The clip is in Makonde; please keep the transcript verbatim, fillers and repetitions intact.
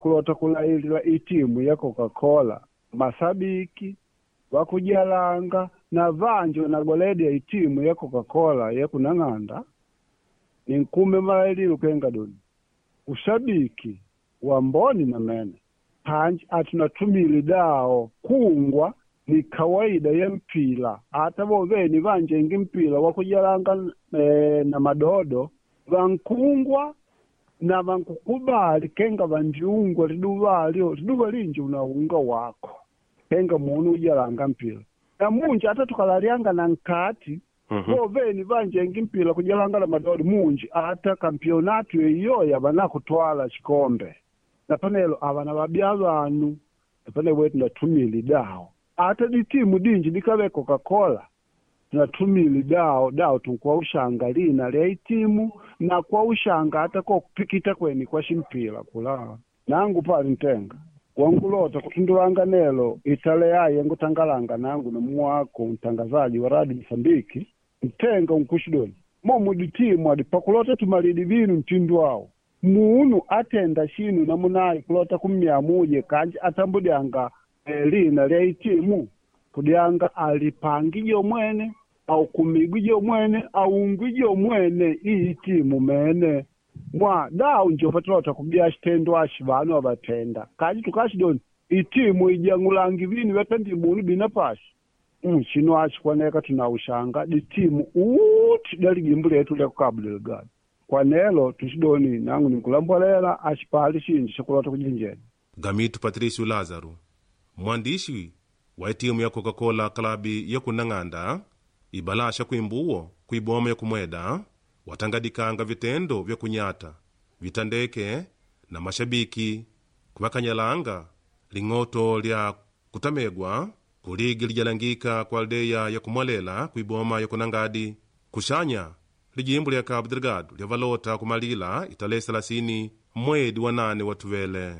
Kulota kulailila itimu ya Coca-Cola masabiki wakujalanga na vanji wanagoledya itimu ya Coca-Cola ya kunang'anda ninkume malaililo kenga doni ushabiki wa mboni na mene panji atunatumile dao kungwa ni kawaida ya mpila ata voveni vanjengi mpila wakujalanga e, na madodo vankungwa na vankukubali kenga vanjiungwa liduva alyo liduva linji unaunga wako kenga munu ujalanga mpila na munji ata tukalalyanga na nkati Mhm. voveni vanjengi mpila kujalanga na madodo munji ata kampionatu iyoya vanakutwala chikombe na panelo avana vabya vanu napane wetu natumile dawo ata ditimu dinji dikave Coca-Cola tunatumile dawo dawo tunkuwa ushanga lina lya itimu na kwa ushanga ata kokupikita kweni kwa shimpila kula nangu pali ntenga wangulota kutundulanga nelo itale yaye ngutangalanga nangu nomuwako mtangazaji wa radio Msambiki ntenga unkushidoni momu ditimu adi pakulota tumalidi vinu mtindu awo munu atenda shinu namunayi kulota kummyamuje kanji atambudyanga eh, lina lya itimu kudyanga alipangije mwene au kumigwije mwene aungwije mwene iyi timu mene mwa dawu njo patulota kubya shitendo ashi vanu avatenda kanji tukashidoni itimu ijang'ulangi vinu vyatendi munu bina pashi mm, shino ashi kwaneka tunaushanga ditimu uti dalijimbo letu lya ku Cabo Delgado kwanelo tushidoni nangu ninkulambolela ashipali shinji shakulota kujinjena Gamitu Patricio Lázaro mwandishi wa itimu ya Coca-Cola klabi ya kunang'anda ibalasha kuimbuwo kuiboma ya kumweda watangadikanga vitendo vya kunyata vitandeke na mashabiki kuvakanyalanga ling'oto lya kutamegwa kuligi lijalangika kwa aldeya ya kumwalela kuiboma ya kunangadi kuxanya lijimbo lya Cabo Delgado lyavalota kumalila italehe selasini mwedi wa nane watuvele.